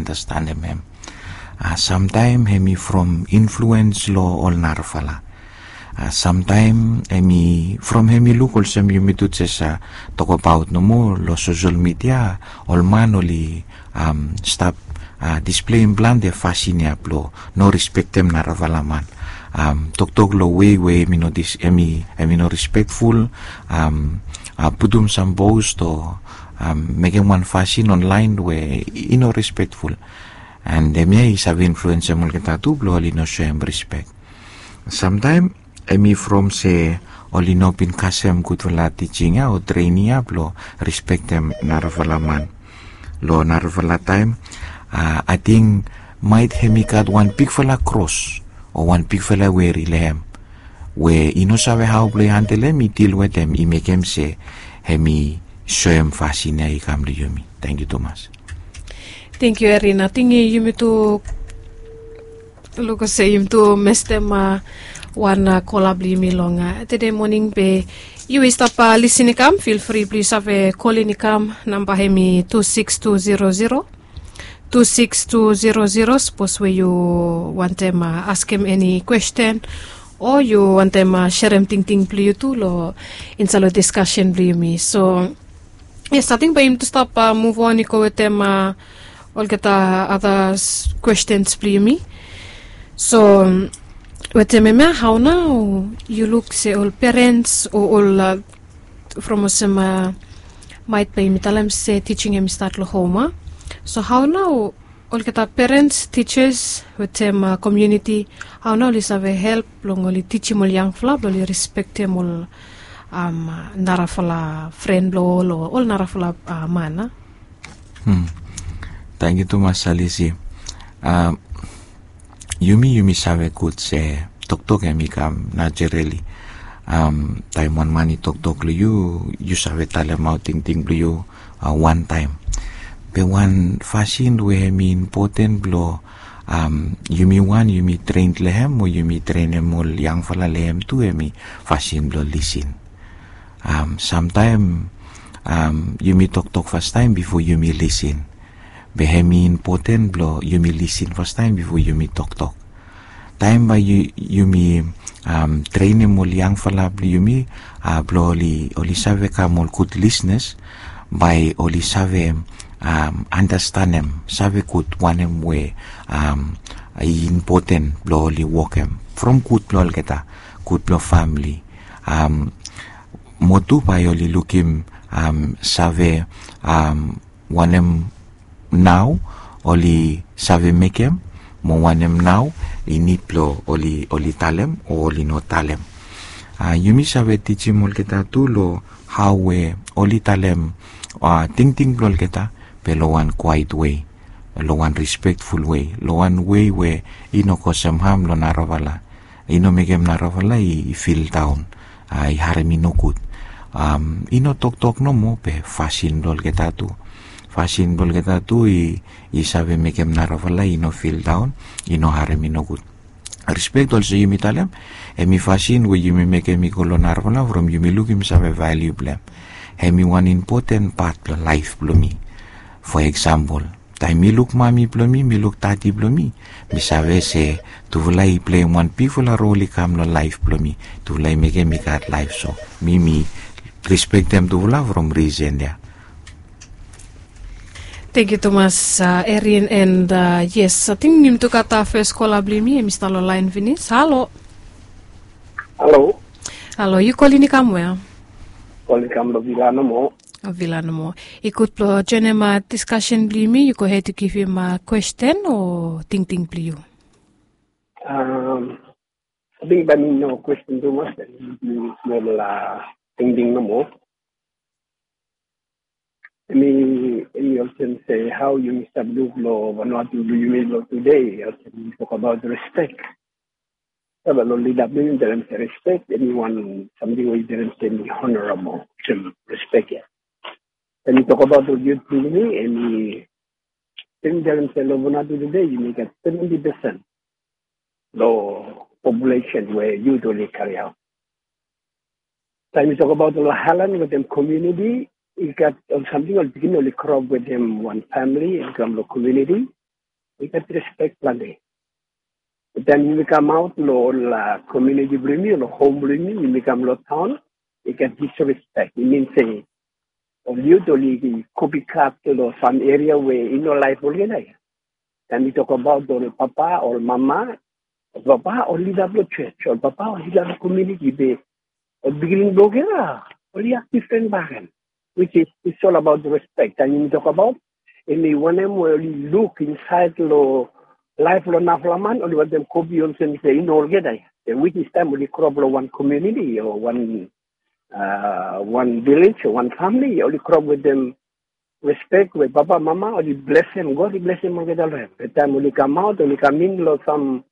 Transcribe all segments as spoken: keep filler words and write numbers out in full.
andastanem hem. Samtaem hem i from influens long ol narafala. Samtaem hem i from hem i luk olsem yumi tu jes tokabaot nomo long sosel midia, ol man oli stap displeim plante fasin ya blong no respektem narafala man. Toktok long wei we hem i no respekful, putum sam post o mekem wan fasin onlaen we i no respekful. And hemia i save influensem olgeta tu blong oli no soem respek. Samtaem hem i from se oli no bin kasem gudfala tijing ya o trening ya blong respektem narafala man. Long narafala taem ating maet hem i gat wan bigfala kros o wan bigfala weri long hem we i no save hao blong i handelem, i dil wetem, i mekem se hem i soem fasin ya i kam long yumi. Tangkiu tumas. Tangkiu Erin, ating yumi tu luk olsem yumi tu mestem wan kola blong yumi long tede moning be yu i stap lisin i kam, fil fri blong yu save kolin i kam. Namba hem i tu siks tu zero zero, tu siks tu zero zero. Sapos we yu wantem askem eni kwesten o yu wantem serem tingting blong yu tu long insaed long diskasen blong yumi. So yes, ating bae yumi tu stap muv on i go wetem olgeta ada kwestens blong yumi. So wetem hemia, hao nao yu luk se ol perens o ol from olsem maet bae yumi talem se tijing hem i stat long hom a. So hao nao olgeta perens, tijas wetem komuniti, hao nao oli save help blong oli tijim ol yangfala blong oli respektem ol narafala fren blong ol o ol narafala man a? Tangkiu tumas Alisi. Yumi yumi save gud se toktok hem i kam najerali. Taem wan man i toktok long yu, yu save talemaot tingting blong yu wantaem. Be wan fasin we hem i impoten blong yumi wan yumi tren long hem o yumi trenem ol yangfala long hem tu hem i fasin blong lisin. Samtaem yumi toktok fastaem bifo yumi lisin. Be hem i impoten blong yumi lisin fastaem bifo yumi toktok. Taem bae yumi trenem ol yangfala blong yumi blong oli save kam ol gud lisnas, bae oli save andastanem, save gud wanem we i impoten blong oli wokem from gud blong olgeta, gud blong famili. Mo tu bae oli lukim save wanem nao oli save mekem mo wanem nao i nid blong oli talem o oli no talem. Yumi save tijim olgeta tu long hao we oli talem tingting blong olgeta, be long wan kwaet wei, long wan respekful wei, long wan wei we i no kosem ham long narafala, i no mekem narafala i fildaon, i harem i nogud. I no toktok nomo be fasin blong olgeta tu, fasin blong olgeta tu i save mekem narafala i no fildaon, i no harem i nogud. Respek olsem yumi talem, hem i fasin we yumi mekem i go long narafala from yumi lukim save valiu blong hem. Hem i wan impoten pat blong laef blong mi. Fo eksampol, taem mi luk mami blong mi, mi luk dadi blong mi, mi save se tufala i pleim wan bigfala rol i kam long laef blong mi. Tufala i mekem mi gat laef, so mi mi respektem tufala from risen ya. Tangkiu tumas Erin, and yes, ating yumi tu gat fes kola blong yumi, hem i stap long laen finis. Halo. Halo. Halo, yu kolin i kam we? Kolin i kam long Vila nomo. Vila nomo. I gud blong joenem diskasen blong yumi, yu gohed yu givim kwesten o tingting blong yu. Ating bae mi no kwesten tumas, bae mi smol tingting nomo. Hem i olsem se hao yumi stap luk long Vanuatu blong yumi long tude, olsem yumi tokabaot respek. Save long lida blong yumi talem se respek hem i wan samting we yumi talem se hem i honorabol, olsem respek ya. Taem mi tokabaot ol yut blong yumi, hem i, taem mi talem se long Vanuatu tude yumi gat seventi pesen long populesen we yut oli kariaot. Taem mi tokabaot long aelan wetem komuniti, i gat ol samting, ol pikinini oli groap wetem wan famili i kam long komuniti. i gat respek planti. Taem yumi kamaot long ol komuniti blong yumi, long hom blong yumi, yumi kam long taon, i gat disrespek. I min se ol yut oli kopikat long sam eria we i no laef olgeta ya. Taem mi tokbaot ol papa, ol mama, ol papa, ol lida blong jos, ol papa, ol lida blong komuniti, be ol pikinini blong olgeta oli aks difren bakegen, which is, it's all about respect. Taem yumi tokbaot, hemi wanem we oli luk insaed long laef blong narafala man, oli wantem kopi olsem se i no olgeta ya. Which is taem oli grow up long wan komuniti o wan, a, wan vilej o wan famili, oli grow up wetem respek we papa, mama oli blesem, God i blesem olgeta long hem. Be taem oli kamaot, oli kam in long sam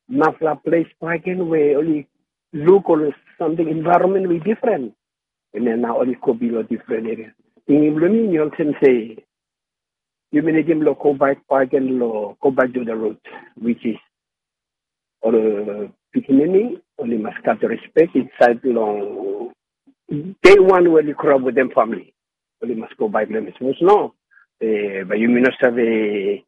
narafala ples bakegen we oli luk ol samting, envaeronmen we i difren. Hemia nao oli kopi long difren eria. Tingting blong mi, mi olsem se yumi nidim long go back bakegen long, go back to the root, which is ol pikinini oli mas gat respek insaed long dei wan we oli grow up wetem famili. Oli mas go back long hem. Sapos no, e, bae yumi no save,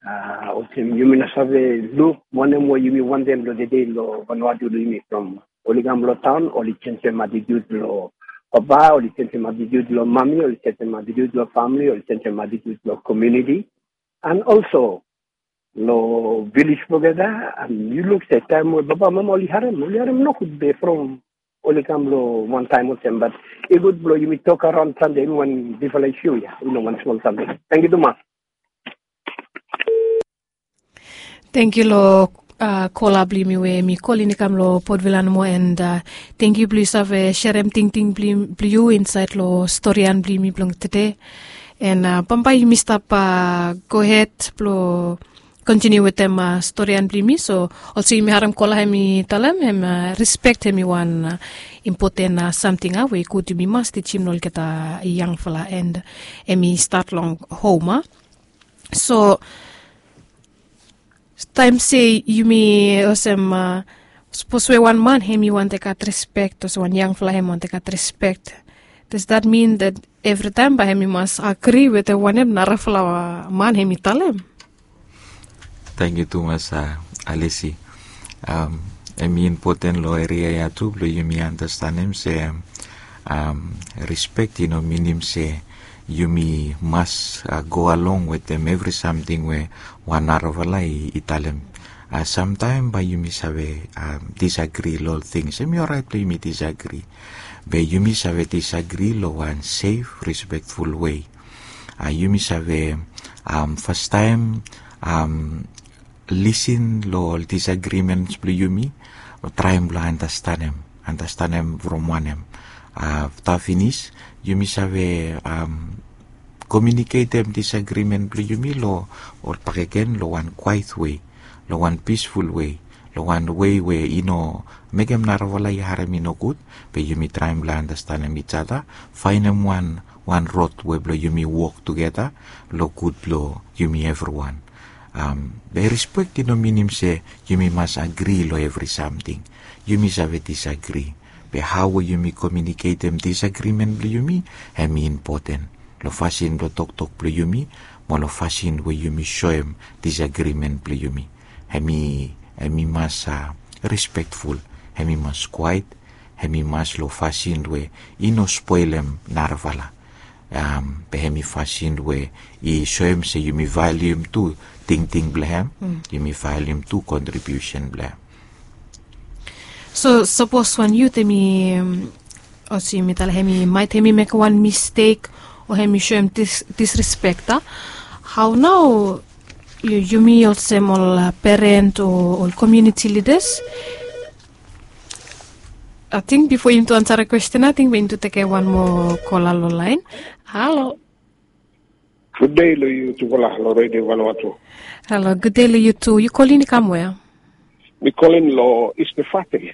a, olsem yumi no save luk wanem we yumi wantem long tede long Vanuatu blong yumi, from oli kam long taon, oli jenjem atitiut blong papa, oli jenjem atitiut blong mami, oli jenjem atitiut blong famili, oli jenjem atitiut blong komuniti. And also long vilej blong olgeta, and yu luk se taem we papa, mama oli harem, oli harem nogud, be from oli kam long wan taem olsem. Bat i gud blong yumi tok araon plante, hemi wan difren isu ya, i no wan smol samting. Tangkiu tumas. Tangkiu long, a, kola blong yumi we hemi kolin i kam long Port Vila nomo, and, a, tangkiu blong yu save serem tingting blong yu insaed long storian blong yumi blong tede. And, a, bambae yumi stap, a, gohed blong kontiniu wetem, a, storian blong yumi. So olsem yumi harem kola hemi talem, hem, a, respek hemi wan, a, impoten, a, samting, a, we i gud yumi mas tijim long olgeta yangfala, and hemi stat long hom, a. So taem se yumi olsem, a, sapos we wan man hemi wantem gat respek, olsem wan yangfala hemi wantem gat respek, does that mean that evritaem bae hemi mas agri wetem wanem narafala man hemi talem? Tangkiu tumas, a, Alesi. Am, hemi impoten long eria ya tu blong yumi andastanem se, am, respek i no minim se yumi mas, a, go along wetem evri samting we wan narafala i, i talem. A, samtaem bae yumi save, am, disagri long ol tings. Hemi oraet blong yumi disagri. Be yumi save disagri long wan sef, respekful wei. A, yumi save, am, fastaem, am, lisin long ol disagrimens blong yumi, o traem blong andastanem, andastanem from wanem. Afta finis, yumi save, am, komiuniketem disagrimen blong yumi long, ol bakegen long wan kwaet wei, long wan pisful wei, long wan wei we i no mekem narafala i harem i nogud, be yumi traem blong andastanem each other, faenem wan, wan rod we blong yumi wok tugeta long gud blong yumi evriwan. Am, be respek i no minim se yumi mas agri long evri samting. Yumi save disagri. Be hao we yumi komiuniketem disagrimen blong yumi, hemi impoten long fasin blong toktok blong yumi, mo long fasin we yumi soem disagrimen blong yumi. Hemi, hemi mas, a, respekful, hemi mas kwaet, hemi mas long fasin we i no spolem narafala. Am, be hemi fasin we i soem se yumi valium tu tingting blong hem, yumi valium tu kontribiusen blong hem. So sapos wan yut hemi, am, olsem yumi talem, hemi maet hemi mekem wan mistek o hemi soem dis-, disrespek, a? Hao nao yu-, yumi olsem ol, a, peren o ol komuniti lidas, ating bifo yumi tu ansarem kwesten, ating bae yumi tu tekem wan moa kola long laen. Halo. Gudde long yu tufala long Redio Vanuatu. Halo, gudde long yu tu. Yu kolin i kam wea? Mi kolin long East Efate.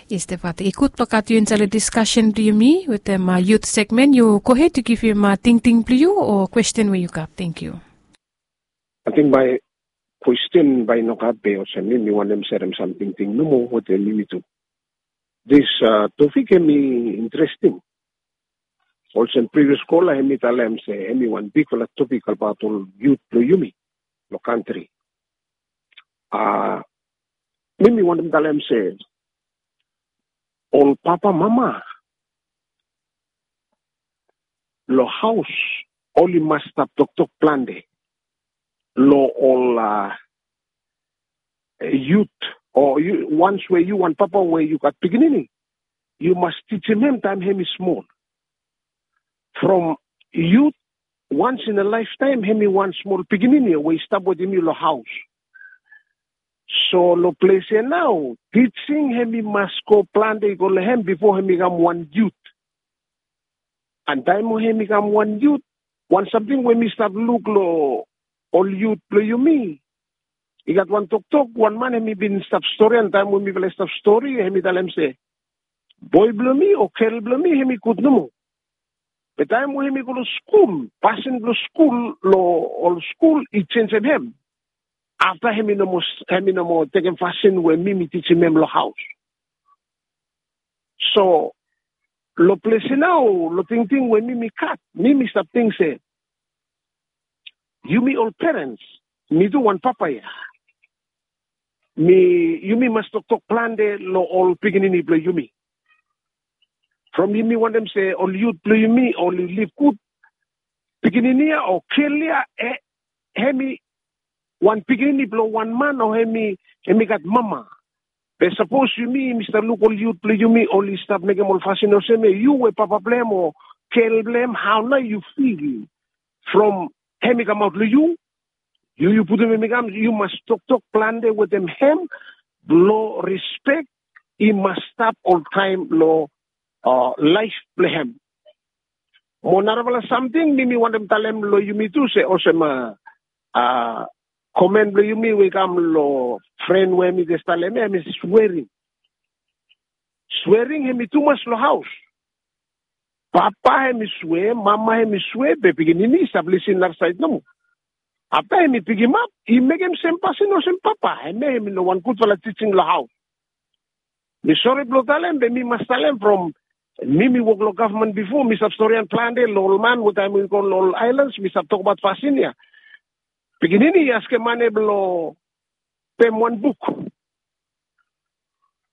East Efate. I gud blong gat yu insaed long diskasen blong yumi wetem, a, yut segmen. Yu gohed, yu givim, a, tingting blong yu o kwesten we yu gat. Tangkiu. Ating bae kwesten bae i no gat, be olsem mi, mi wantem serem sam tingting nomo wetem yumi tu. Dis, a, topik hemi interesting. Olsem privias kola hemi talem se hemi wan bigfala topik abaot ol yut blong yumi. long kantri. A mi mi wantem talem se ol papa mama long haos oli mas stap toktok plante long ol a yut, o wans we yu wan papa we yu gat pikinini, yu mas tijim hem taem hem i smol. From yut, wans in a laeftaem hem i wan smol pikinini we i stap wetem yu long haos. So long ples ya nao tijing hem i mas go plante i go long hem bifo hem i kam wan yut. An taem we hem i kam wan yut, wan samting we mi stap luk long ol yut blong yumi, i gat wan toktok wan man hem i bin stap stori an taem we mifala i stap stori hem i talem se boi blong mi o gel blong mi hem i gud nomo. Be taem we hem i go long skul, pasin blong skul long ol skul i jenjem hem. Afta hem i no moa tekem fasin we mi mi tijim hem long haos. So long ples ya nao long tingting we mi mi gat, mi mi stap ting se yumi ol perens, mi tu wan papa ya, mi yumi mas toktok plante long ol pikinini blong yumi. From yumi wantem se ol yut blong yumi oli liv gud, pikinini ya o gel ya hem i wan pikinini blong wan man o hem i gat mama. Be sapos yumi yumi stap luk ol yut blong yumi oli stap mekem ol fasin olsem ya, yu we papa blong hem o gel blong hem, hao nao yu fil? From hem i kamaot long yu, yu yu putum hem i kam, yu mas toktok plante wetem hem blong rispek i mas stap oltaem long laef blong hem. Mo narafala samting mi mi wantem talem long yumi tu se olsem a komen blong yumi we i kam long fren we hem i jes talem ya hem i swering. Swering hem i tumas long haos. Papa hem i swe, mama hem i swe, be pikinini i stap lisin narasaed nomo. Afta hem i pikimap i mekem sem pasin olsem papa, hem ya hem i no wan gudfala tijing long haos. Mi sore blong talem be mi mas talem from mi mi wok long gavman bifo mi stap storian plante long ol man we taem mi go long ol aelans mi stap tokbaot fasin ya. Pikinini i askem mane blong pem wan buk.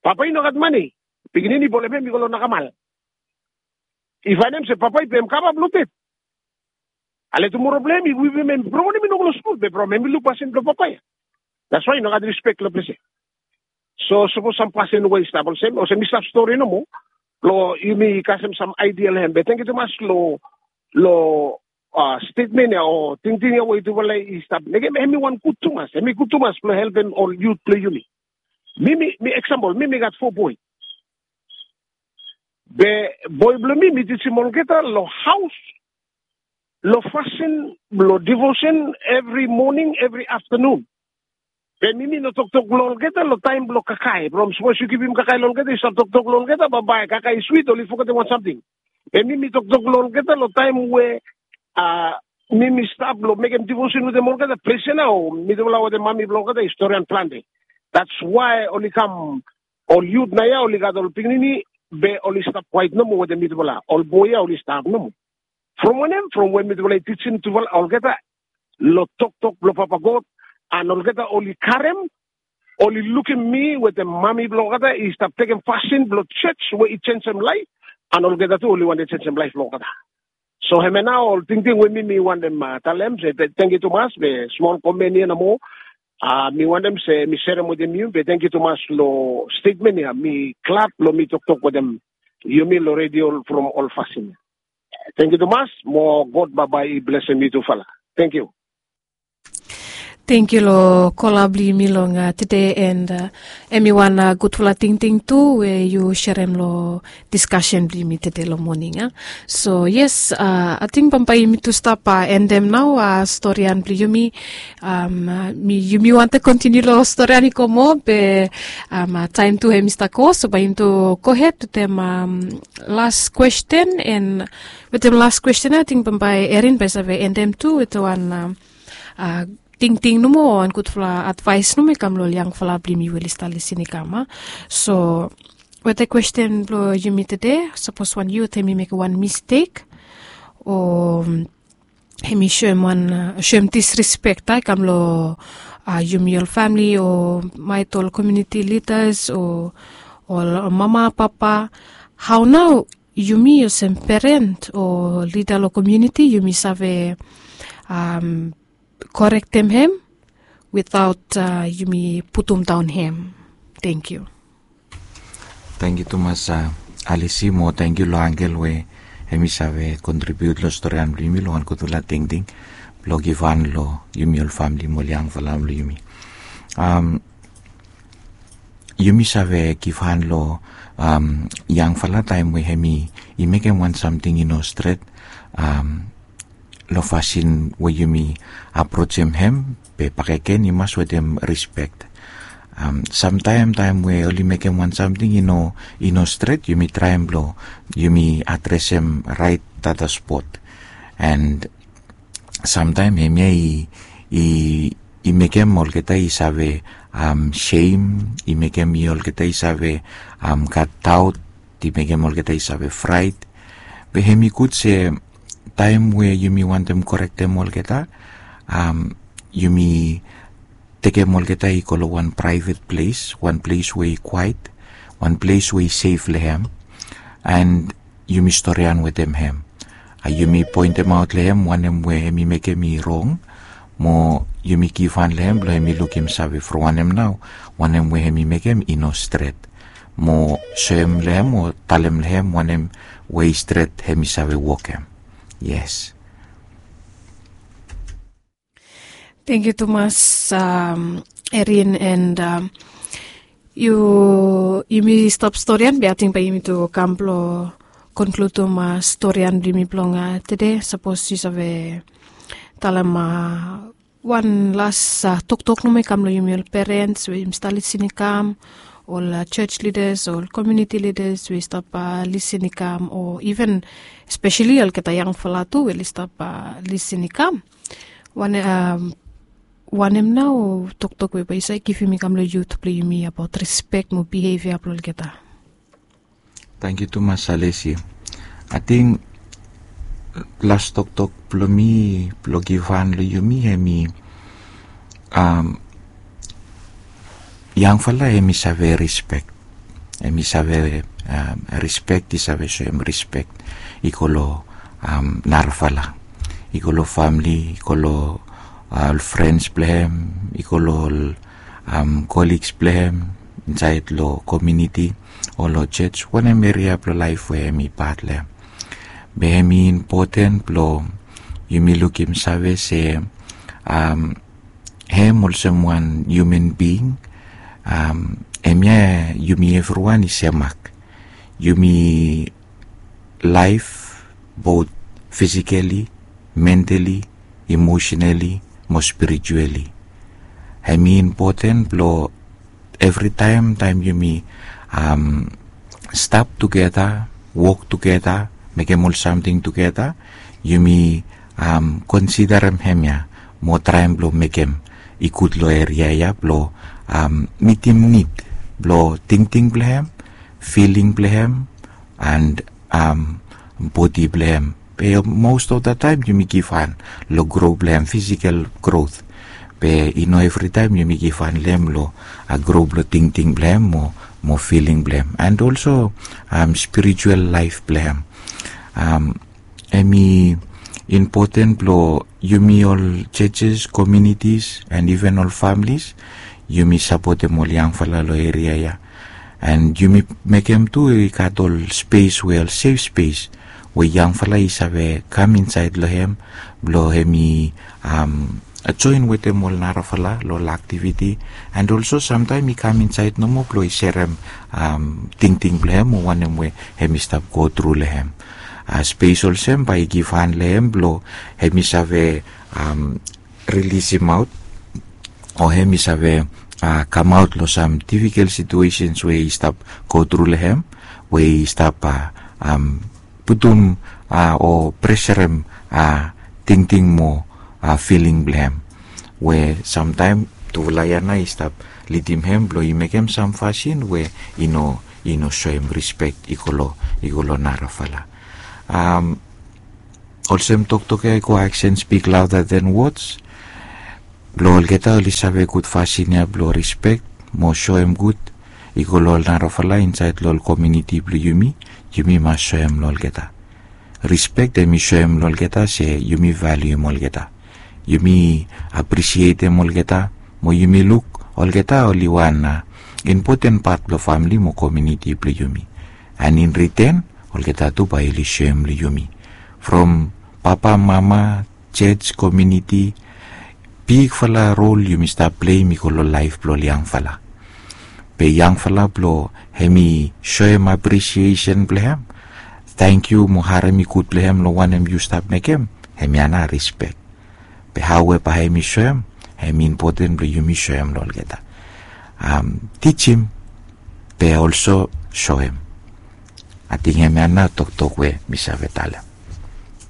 Papa i no gat mane. Pikinini i bolem hem i go long nakamal. I faenem se papa i pem kava blong ded. Ale tumora blong hem i wipim hem i brongonem i no go long skul be from hem i luk pasin blong papa ya. That's why i no gat rispek long ples ya. So sapos sam pasin we i stap olsem olsem mi stap stori nomo blong yumi kasem sam aidia long hem be tengiu tumas long long stetmen ya o tingting ya we yutufala i stap mekem hem i wan gud tumas hem i gud tumas blong helpem ol yut blong yumi. Mi mi mi eksampol mi mi gat fo boi. Be boi blong mi mi tijim olgeta long haos long fasin blong divosen evri moning evri aftanun. Be mi mi no toktok long olgeta long taem blong kakae from sapos yu givim kakae long olgeta yu stap toktok long olgeta bambae kakae i swit oli fogetem wan samting. Be mi mi toktok long olgeta long taem we a mi mi stap long mekem divosen wetem olgeta ples ya nao mitufala wetem mami blong olgeta i storian plante. That's why oli kam ol yut nao ya oli gat ol pikinini be oli stap kwaet nomo wetem mitufala ol boi ya oli stap nomo. From wanem from we mitufala i tijim tufala olgeta long toktok blong papa god an olgeta oli karem oli lukim mi wetem mami blong olgeta i stap tekem fasin blong joj we i jenjem laef an olgeta tu oli wantem jenjem laef blong olgeta. So hemia nao ol tingting we mi mi wantem talem se tengiu tumas be smol komen ya nomo. A mi wantem se mi serem wetem yu be tengiu tumas long stetmen ya mi glad blong mi toktok wetem yumi long redio from ol fasin ya. Tengiu tumas mo god bambae i blesem yutufala. Tengiu. Tengiu long kola blong yumi long tede and em i wan gudfala tingting tu we yu serem long diskasen blong yumi tede long moning a. So yes, ating bambae yumi tu stap endem nao storian blong yumi. Yumi wantem kontiniu long storian i go moa be taem tu hem i stap go so bae yumi tu gohed wetem las kwesten and wetem las kwesten ating bambae erin bae save endem tu wetem wan tingting nomo o wan gudfala advaes nomo i kam long ol yangfala blong yumi we oli stap lisin i kam a. So wetem kwesten blong yumi tede sapos wan yut hem i mekem wan mistek o hemi soem wan, soem disrespek ya i kam long yumi ol famili o maet ol komuniti lidas o ol mama papa. Hao nao yumi olsem peren o lida long komuniti yumi save korektem hem witaot yumi putumdaon hem? Tangkiu. Tangkiu tumas Alisi, mo tangkiu long angel we hemi save kontribiut long storian blong yumi long wan gudfala tingting blong givhan long yumi ol famili mo ol yangfala blong yumi. Yumi save givhan long yangfala taem we hemi mekem wan samting i no stret, long fasin we yumi aprojem hem, be bakegen i mas wetem rispek. Samtaem taem we oli mekem wan samting i no i no stret, yumi traem blong yumi adresem raet data spot. And samtaem hemia i i i mekem olgeta i save sem, i mekem i olgeta i save gat daot, i mekem olgeta i save fraet. Be hem i gud se taem we yumi wantem korektem olgeta, yumi tekem olgeta i go long wan praevet ples, wan ples we i kwaet, wan ples we i sef long hem, and yumi storian wetem hem. Yumi poentemaot long hem wanem we hem i mekem i rong, mo yumi givhan long hem blong hem i lukim save from wanem nao wanem we hem i mekem i no stret, mo soem long hem o talem long hem wanem we i stret hem i save wokem. Yes. Tangkiu tumas Erin, and yu yumi stap storian be ating bae yumi tu kam blong konkludim storian blong yumi blong tede. Sapos yu save talem wan las toktok nomo i kam long yumi ol perens we yumi stap lisin i kam, ol jos lidas, ol komuniti lidas we i stap lisin i kam, o iven speseli olgeta yangfala tu we oli stap lisin i kam, wanem nao toktok we bae yu save givim i kam long yut blong yumi abaot rispek mo bihevia blong olgeta? Tangkiu tumas Alisi. Ating las toktok blong mi blong givhan long yumi hemi, yangfala hemi save rispek. Hemi save rispek, i save soem rispek i go long narafala, i go long famili, i go long ol frens blong hem, i go long ol koligs blong hem insaed long komuniti o long jos, wanem eria blong laef we hem i pat long hem. Be hem i impoten blong yumi lukim save se hem olsem wan hiuman bing, hemia yumi evriwan i semak. Yumi laef bot fisikali, mentali, emosenali mo spirituali. Hem i impoten blong evritaem taem yumi stap tugeta, wok tugeta, mekem ol samting tugeta, yumi konsiderem hemia mo traem blong mekem i gud long eria ya blong mitim nid blong tingting blong hem, filing blong hem, and bodi blong hem. Be most of the taem yumi givhan long gro blong hem, fisikal grot. Be i no evritaem yumi givhan long hem long gro blong tingting blong hem mo filing blong hem, and olso spiritual laef blong hem. Hem i impoten blong yumi ol jos, komunitis, and iven ol familis, yumi sapotem ol yangfala long eria ya. And yumi mekem tu i gat ol spes we ol sef spes we yangfala i save kam insaed long hem blong hem i joen wetem ol narafala long ol aktiviti. And olso samtaem i kam insaed nomo blong i serem tingting blong hem o wanem we hem i stap gotru long hem. Spes olsem bae i givhan long hem blong hem i save rilisimaot o hem i save kamaot long sam difikol situesens we i stap gotru long hem, we i stap putum o preserem tingting mo filing blong hem, we samtaem tufala ya nao i stap lidim hem blong i mekem sam fasin we i no i no soem rispek i go long i go long narafala. Olsem toktok ya i go, action speak louder than words. Blong olgeta oli save gud fasin ya blong rispek mo soem gud i go long ol narafala insaed long ol komuniti blong yumi. Yumi mas soem long olgeta. Rispek hemi soem long olgeta se yumi valium olgeta. Yumi apresietem olgeta mo yumi luk olgeta oli wan impoten pat blong famili mo komuniti blong yumi. And in return, olgeta tu bae oli soem long yumi. From papa, mama, church, komuniti, bigfala rol yumi stap pleim i go long laef blong ol yangfala. Be yangfala blong hemi soem apresiesen blong hem, tangkiu mo harem i gud blong hem long wanem yu stap mekem, hemia nao rispek. Be hao we bae hemi soem, hemi impoten blong yumi soem long olgeta. Tijim, be olso soem. Ating hemia nao toktok we mi save talem.